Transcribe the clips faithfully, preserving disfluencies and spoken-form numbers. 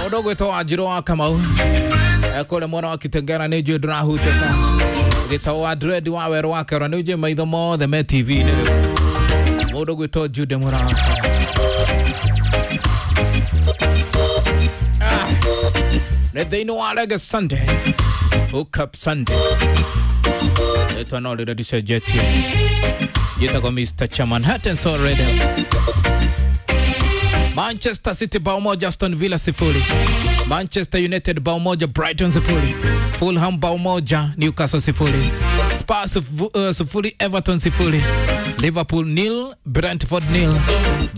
Mundu gwitwo Wanjiru wa Kamau kũrĩa mwena wa Kitengela nĩ njũĩ ndũrahutĩka gĩtau wa dread wa werũ wa kerwa nĩ njũĩ maitho mothe me T V-inĩ rĩu. Mũndũ gwĩtwo Jude Mũrata. Ah, nĩ thĩinĩ wa Reggae Sunday, Hook Up Sunday. Rĩtwa no rĩrĩa rĩcenjetie, njĩtagwo Mister Chairman Heart and Soul Radio. Manchester City bao moja Aston Villa sifuri, Manchester United bao moja Brighton sifuri, Fulham bao moja Newcastle sifuri, Spurs uh, sifuri Everton sifuri, Liverpool nil Brentford nil,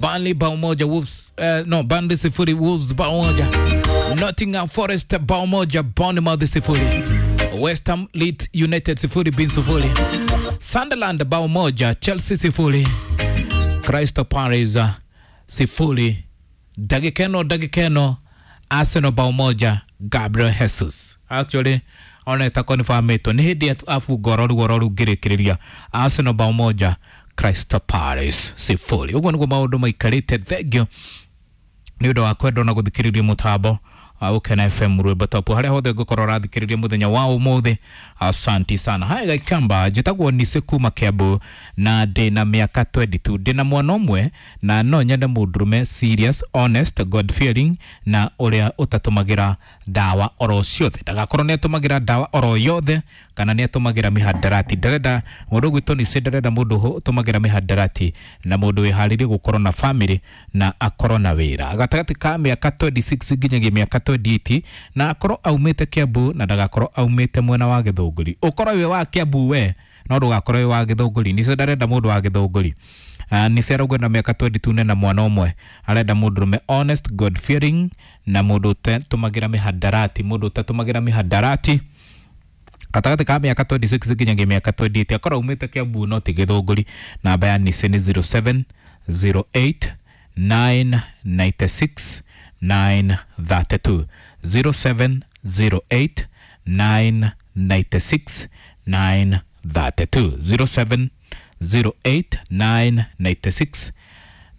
Burnley bao moja Wolves uh, no Burnley sifuri Wolves bao moja, Nottingham Forest bao moja Bournemouth sifuri, West Ham Leeds United sifuri bin sifuri, Sunderland bao moja Chelsea sifuri, Crystal Palace sifuri. Dagikeno dagikeno Arsenal bao moja Gabriel Jesus. Actually ona itakonfirmĩtwo nĩ hĩndĩ abunga oro ruo oro ngĩrĩkĩrĩria Arsenal bao moja Crystal Palace sifuri. Ũguo nĩguo maũndũ maikarĩte. Thengiũ nĩ ũndũ wa kwenda na gũthikĩrĩria mũtambo wa Gũkena F M rwĩmbo top harĩa hothe ngũkorwo ũrathikĩrĩria mũthenya wa ũmũthĩ. Asanti sana. Haya Gaikamba, njĩtagwo Nise kuma Kiambu na ndĩ na mĩaka twenty-two, ndĩ na mwana ũmwe na no nyende mũndũrũme serious, honest, God fearing na ũrĩa ũtatũmagĩra ndawa oro ciothe. Ndagakorwo nĩ atũmagĩra ndawa oro yothe kana nĩ atũmagĩra mĩhandarati. Ndarenda mũndũ ũgwĩtwo Nise, ndarenda mũndũ ũtũmagĩra mĩhandarati na mũndũ wĩharĩirie gũkorwo na family na akorwo na wĩra gatagatĩ ka mĩaka twenty-six nginyagia mĩaka twenty-eight na akorwo aumĩte Kiambu na ndagakorwo aumĩte mwena wa Gĩthũngũri. Ũkorwo wĩ wa Kiambu we no ndũgakorwo wĩ wa Gĩthũngũri. Nise ndarenda mũndũ wa Gĩthũngũri. Uh, Nise arauga na mĩaka twenty-two na mwana ũmwe, arenda mũndũrũme honest, God fearing na mũndũ ũtatũmagĩra mĩhandarati, mũndũ ũtatũmagĩra mĩhandarati gatagatĩ ka mĩaka twenty-six nginyagia mĩaka twenty-eight, akorwo aumĩte Kiambu no ti Gĩthũngũri. Namba ya Nise nĩ zero seven zero eight nine nine six nine thirty two, zero seven zero eight nine nine six nine thirty two, zero seven zero eight nine nine six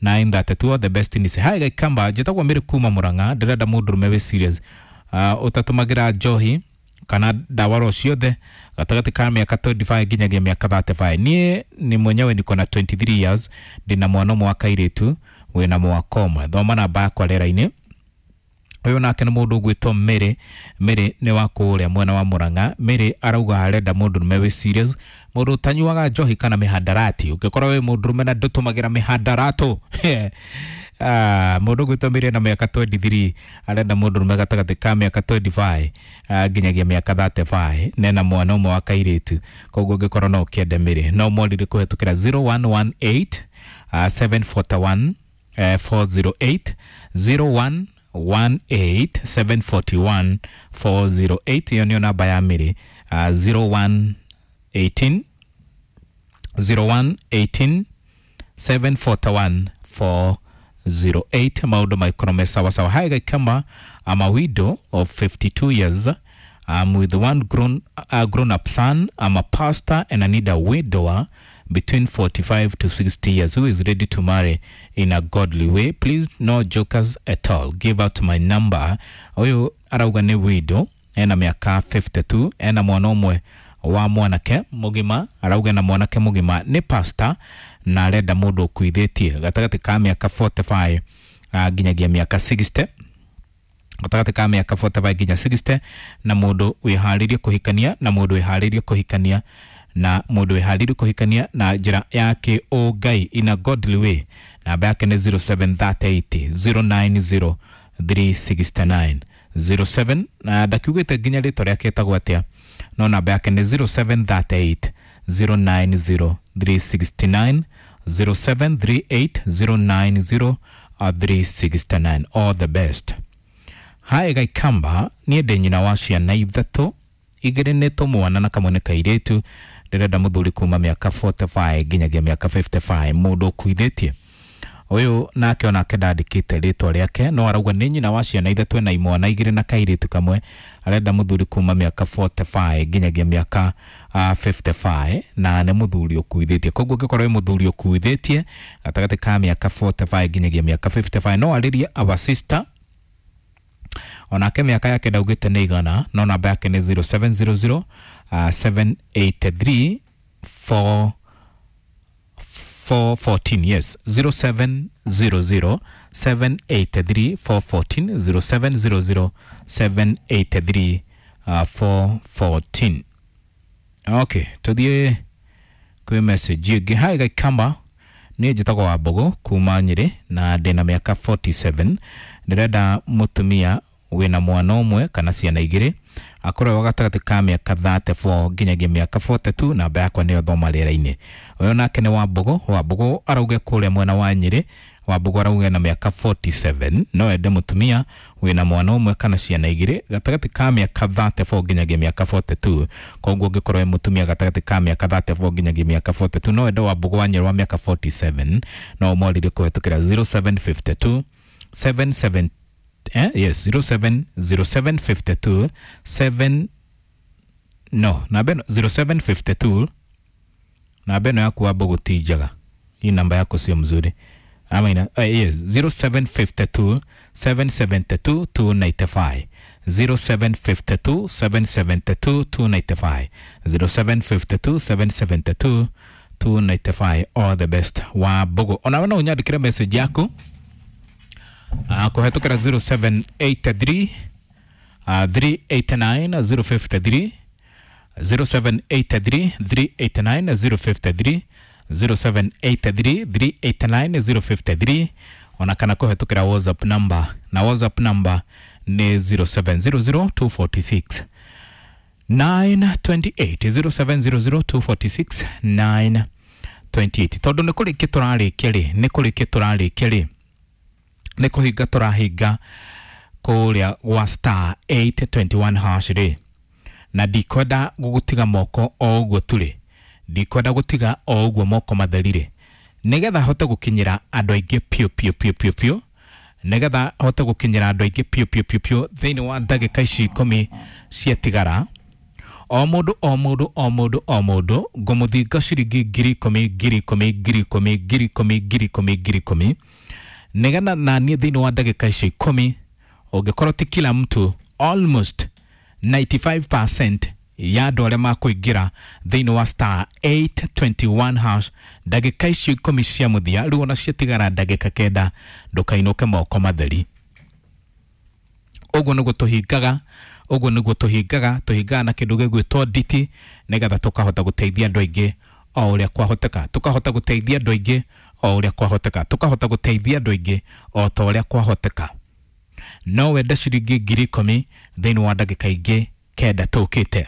nine thirty two. The best ni hai Gaikamba, njĩtagwo Mary kuma Murang'a, ndĩrenda mũndũrũme wĩ serious, uh, ũtatũmagĩra njohi kana ndawa ro ciothe gatagatĩ ka mĩaka twenty-five nginyagia mĩaka thirty-five. Niĩ nĩ mwenyewe niko na twenty-three years, ndĩna mwana ũmwe wa kairĩtu wĩna mwaka ũmwe. Thoma namba yakwa rĩera-inĩ. Ũyũ nake nĩ mũndũ ũgwĩtwo Mary. Mary nĩ wa kũrĩa mwena wa Murang'a. Mary arauga arenda mũndũrũme wĩ serious, mũndũ ũtanyuaga njohi kana mĩhandarati. Ũngĩkorwo wĩ mũndũrũme na ndũtũmagĩra mĩhandaratũ ah, mũndũ ũgwĩtwo Mary na mĩaka twenty-three arenda mũndũrũme gatagatĩ ka mĩaka twenty-five nginyagia mĩaka thirty-five nena mwana ũmwe wa kairĩtu. Koguo ũngĩkorwo no ũkĩende Mary no mwarire kũhetũkĩra zero one one eight seven four one four zero eight, zero one one eight seven four one four zero eight. Iyo niyo namba ya Mary, uh, zero one eighteen zero one eighteen seven four one four zero eight. Maũndũ maikorwo me sawa sawa. Hi Gaikamba, I'm a widow of fifty-two years. I'm with one grown, uh, grown up son. I'm a pastor and I need a widower between forty-five to sixty years who is ready to marry in a godly way. Please, no jokers at all. Give out my number. Ũyũ arauga nĩ widow, ena mĩaka fifty-two, ena mwana ũmwe wa mwanake mũgima, arauga na mwanake mũgima nĩ pastor na arenda mũndũ ũkuithĩtie gatagatĩ ka mĩaka forty-five nginyagia mĩaka sixty, gatagatĩ ka mĩaka forty-five nginya sixty, na mũndũ wĩharĩirie kũhikania na mũndũ wĩharĩirie kũhikania na mũndũ wĩharĩirie kũhikania na njĩra ya kĩũngai in a godly way. Namba yake nĩ zero seven three eight zero nine zero three six nine zero seven, na ndakiugĩte nginya rĩtwa rĩake etagwo atĩa, no namba yake nĩ zero seven three eight zero nine zero three six nine, zero seven three eight zero nine zero three six nine. All the best. Hi Gaikamba, niĩ ndĩ nyina wa ciana ithatũ, igĩrĩ nĩ tũmwana na kamwe nĩ kairĩtu. Ndĩrenda mũthuri kuma mĩaka forty-five nginyagia mĩaka fifty-five, mũndũ ũkuithĩtie. Ũyũ nake onake ndandĩkĩte rĩtwa rĩake, no arauga nĩ nyina wa ciana ithatũ ena imwana igĩrĩ na kairĩtu kamwe, arenda mũthuri kuma mĩaka forty-five nginyagia mĩaka uh, fifty-five na nĩ mũthuri ũkuithĩtie. Koguo ũngĩkorwo wĩ mũthuri ũkuithĩtie gatagatĩ ka mĩaka forty-five nginyagia mĩaka fifty-five, no arĩrie our sister Onake mĩaka yake ndaugĩte nĩ igana, no namba yake nĩ zero seven zero zero uh, seven eight three four four fourteen. Yes, zero seven zero zero seven eight three four fourteen, zero seven zero zero seven eight three uh, four fourteen. Okay, tuthiĩ kwĩ message ĩngĩ. Hi Gaikamba, niĩ njĩtagwo Wambũgũ kuma Nyĩrĩ na ndĩna mĩaka forty seven. Ndĩrenda mũtumia wĩna mwana ũmwe kana ciana igĩrĩ, akorwo gatagatĩ ka mĩaka thirty four nginyagia mĩaka forty two. Namba yakwa nĩyo thoma rĩera-inĩ. Ũyũ nake nĩ Wambũgũ. Wambũgũ arauge kũrĩa mwena wa Nyĩrĩ. Wambũgũ arauge na mĩaka forty seven no ende mũtumia wĩna mwana ũmwe kana ciana igĩrĩ gatagatĩ ka mĩaka thirty four nginyagia mĩaka forty two. Koguo ũngĩkorwo wĩ mũtumia gatagatĩ ka mĩaka thirty four nginyagia mĩaka forty two, no ende Wambũgũ wa Nyĩrĩ wa mĩaka forty seven, no ũmwarĩrie kũhetũkĩra zero seven fifty two seven seven eh, yes, zero seven zero seven fifty two seven no namba ĩno zero seven fifty two, namba ĩno yaku Wambũgũ ti njega, hii namba yako sio mzuri ama ina, uh, yes, zero seven fifty two seven seventy two two ninety five, zero seven fifty two seven seventy two two ninety five, zero seven fifty two seven seventy two two ninety five. All the best Wambũgũ. Onawe no ũnyandĩkĩre message yaku uh, kũhetũkĩra zero seven eight three, uh, three eight nine zero fifty three, zero seven eight three three eight nine zero fifty three, zero seven eight three three eight nine zero fifty three, ona kana kũhetũkĩra WhatsApp number, na WhatsApp number nĩ zero seven zero zero two forty six nine twenty eight, zero seven zero zero two forty six nine twenty eight. Tondũ nĩ kũrĩkia tũrarĩkia rĩ, nĩ kũrĩkia tũrarĩkia rĩ, nĩ kũhinga tũrahinga kũrĩa gwa star eight twenty one hash rĩ, na ndikwenda gũgũtiga moko o ũguo tũrĩ, ndikwenda gũtiga o ũguo moko matheri rĩ, nĩgetha hote gũkinyĩra andũ aingĩ piũ piũ piũ piũ piũ, nĩgetha hote gũkinyĩra andũ aingĩ piũ piũ piũ piũ thĩinĩ wa ndagĩka ici ikũmi ciatigara. O mũndũ o mũndũ o mũndũ o mũndũ ngũmũthinga ciringi ngiri ikũmi ngiri ikũmi ngiri ikũmi ngiri ikũmi ngiri ikũmi ngiri ikũmi, nĩgetha naniĩ thĩinĩ wa ndagĩka icio ikũmi ũngĩkorwo ti kila mtu, almost ninety five percent ya andũ arĩa makũingĩra thĩinĩ wa star eight twenty one hash ndagĩka icio ikũmi cia mũthia, rĩu ona ciatigara ndagĩka kenda, ndũkainũke moko matheri. Ũguo nĩguo tũhingaga, ũguo nĩguo tũhingaga, tũhingaga na kĩndũ gĩgwĩtwo nditi, nĩgetha tũkahota gũteithia andũ aingĩ o ũrĩa kwahoteka, tũkahota gũteithia andũ aingĩ o ũrĩa kwahoteka, tũkahota gũteithia andũ aingĩ o ta ũrĩa kwahoteka. No wende ciringi ngiri ikũmi thĩinĩ wa ndagĩka ingĩ kenda tũkĩte.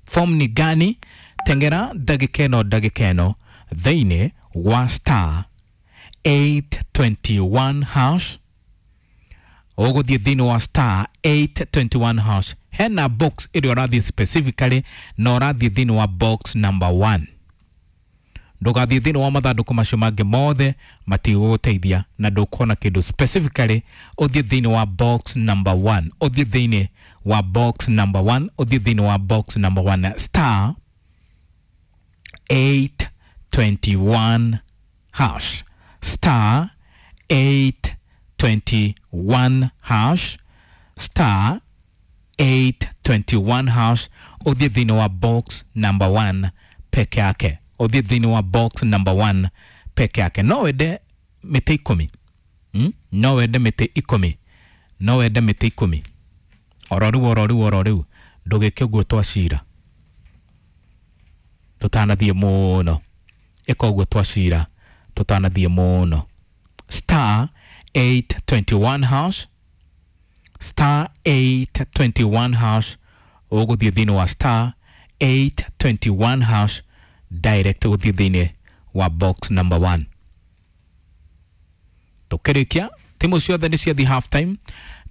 Form ni gani? Tengera ndagĩka ĩno ndagĩka ĩno thĩinĩ wa star eight twenty one hash. Ũgũthiĩ thĩinĩ wa star eight twenty one hash, hena box ĩrĩa ũrathiĩ specifically, na ũrathiĩ thĩinĩ wa box number one. Ndũgathiĩ thĩinĩ wa mathandũkũ macio mangĩ mothe, matigũgũteithia na ndũkuona kĩndũ. Specifically ũthiĩ thĩinĩ wa box number one, ũthiĩ thĩinĩ wa box number one, ũthiĩ thĩinĩ wa box number one, star eight twenty one hash, star eight twenty one hash, star eight twenty one hash, ũthiĩ thĩinĩ wa box number one peke yake, ũthiĩ thĩinĩ wa box number one peke yake. No wende mĩtĩ ikũmi, hmm? No wende mĩtĩ ikũmi, no wende mĩtĩ ikũmi oro rĩu oro rĩu oro rĩu, ndũgĩke ũguo twacira tũtanathiĩ mũno, ĩka ũguo twacira tũtanathiĩ mũno. Star eight twenty one hash, star eight twenty one hash, ũgũthiĩ thĩinĩ wa star eight twenty one hash direct ũthiĩ thĩinĩ wa box number one. Tũkĩrĩkia timu ciothe nĩ ciathiĩ half time.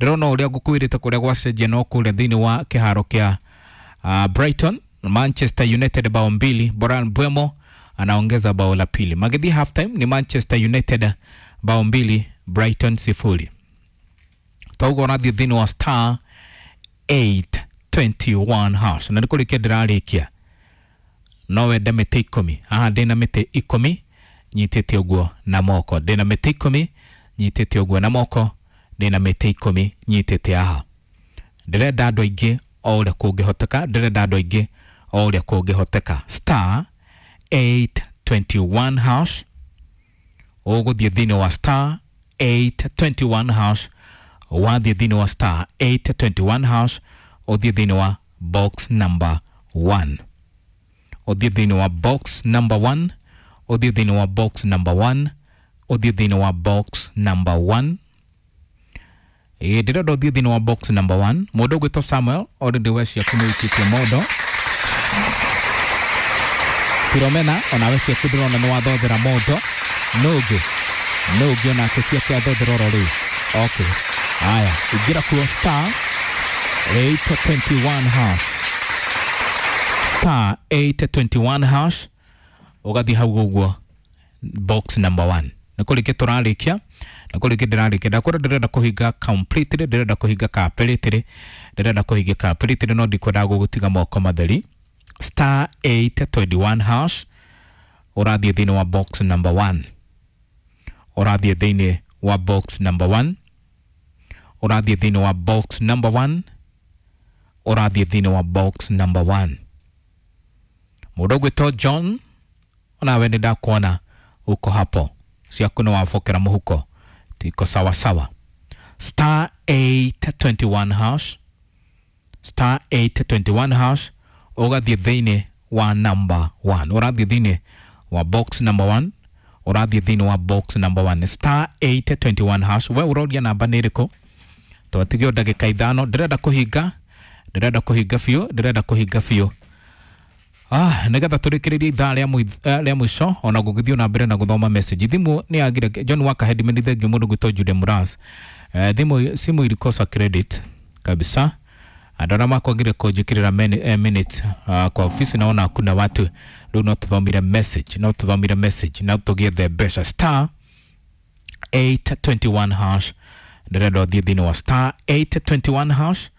Ndĩrona ũrĩa ngũkwĩrĩte kũrĩa gwacenjia no kũrĩa thĩinĩ wa kĩharo kĩa, uh, Brighton. Manchester United bao mbili, Bryan Mbeumo anaongeza bao la pili. Magĩthiĩ half time ni Manchester United bao mbili, Brighton sifuri. Toguo ũrathiĩ thĩinĩ wa star eight twenty one hash, na nĩ kũrĩkia ndĩrarĩkia. No wende mĩtĩ ikũmi, haha ndĩna mĩtĩ ikũmi nyitĩte ũguo na moko, ndĩna mĩtĩ ikũmi nyitĩte ũguo na moko, ndĩna mĩtĩ ikũmi nyitĩte haha. Ndĩrenda andũ aingĩ o ũrĩa kũngĩhoteka, ndĩrenda andũ aingĩ o ũrĩa kũngĩhoteka. Star eight twenty-one hash, ũgũthiĩ thĩinĩ wa star eight twenty-one hash. Wathiĩ thĩinĩ wa star eight twenty-one hash, ũthiĩ thĩinĩ wa box number one, ũthiĩ thĩinĩ wa box number one, ũthiĩ thĩinĩ wa box number one, ũthiĩ thĩinĩ wa box number one. Ĩĩ, ndĩrenda ũthiĩ thĩinĩ wa box number one. Mũndũ ũgwĩtwo Samuel, already we ciaku nĩ ũikĩtie mondo. Filomena, onawe ciaku ndĩrona nĩ wathothera mondo. Nũngĩ nũngĩ onake ciake athothera oro rĩu. Okay, haya, ingĩra kuo star eight twenty-one hash, star eight twenty-one hash, ũgathiĩ hau ũguo box number one. Nĩ kũrĩkia tũrarĩkia, nĩ kũrĩkia ndĩrarĩkia. Ndakwĩra ndĩrenda kũhinga completely, ndĩrenda kũhinga completely, ndĩrenda kũhinga completely, no ndikwendaga gũgũtiga moko matheri. Star eight twenty-one hash, ũrathiĩ thĩinĩ wa box number one, ũrathiĩ thĩinĩ wa box number one, ũrathiĩ thĩinĩ wa box number one, ũrathiĩ thĩinĩ wa box number one. Mũndũ ũgwĩtwo John, onawe nĩ ndakuona uko hapo, ciaku nĩ wabokera mũhuko, tiko sawa sawa. Star eight twenty-one hash, star eight twenty-one hash, ũgathiĩ thĩinĩ wa number one, ũrathiĩ thĩinĩ wa box number one, ũrathiĩ thĩinĩ wa box number one, star eight twenty-one hash. We ũroria namba nĩ ĩrĩkũ? Twatigio ndagĩka ithano. Ndĩrenda kũhinga, ndĩrenda kũhinga biũ, ndĩrenda kũhinga biũ. Ah, nĩgetha tũrĩkĩrĩrie ithaa rĩa mũith- eh, rĩa mũico, ona gũgĩthiĩ na mbere na gũthoma message. Thimũ nĩ yagire. John Wakahedi, meni thengiũ. Mũndũ gwĩtwo Jude Muras, eh, thimũ simu ilikosa credit kabisa. Andũ arĩa makwagire kũnjĩkĩrĩra meni- eh, minute uh, kwa ofisi, naona hakuna watu. Rĩu no tũthomire message, no tũthomire message no tũgĩethe mbeca. Star eight twenty-one hash, ndĩrenda ũthiĩ thĩinĩ wa star eight twenty-one hash.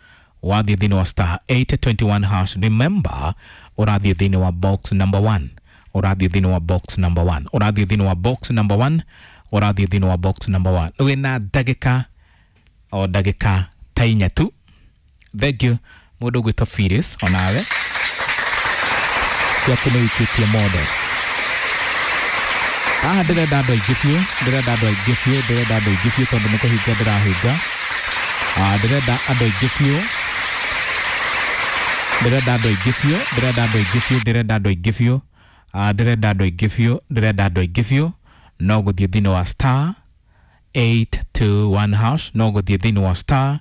Wathiĩ thĩinĩ wa star eight twenty-one hash, remember, ũrathiĩ thĩinĩ wa box number one, ũrathiĩ thĩinĩ wa box number one, ũrathiĩ thĩinĩ wa box number one, ũrathiĩ thĩinĩ wa box number one. Wĩna ndagĩka o ndagĩka ta inya tu. Thank you. Mũndũ ũgwĩtwo Phyllis, onawe ciaku nĩ ũikĩtie mondo. Haha ndĩrenda andũ aingĩ biũ, ndĩrenda andũ aingĩ biũ, ndĩrenda andũ aingĩ biũ, tondũ nĩ kũhinga ndĩrahinga. Ah, ndĩrenda andũ aingĩ biũ, ndĩrenda andũ aingĩ biũ, ndĩrenda andũ aingĩ biũ, ndĩrenda andũ aingĩ biũ. Ah, ndĩrenda andũ aingĩ biũ, ndĩrenda andũ aingĩ biũ. No gũthiĩ thĩinĩ wa star eight two one hash, no gũthiĩ thĩinĩ wa star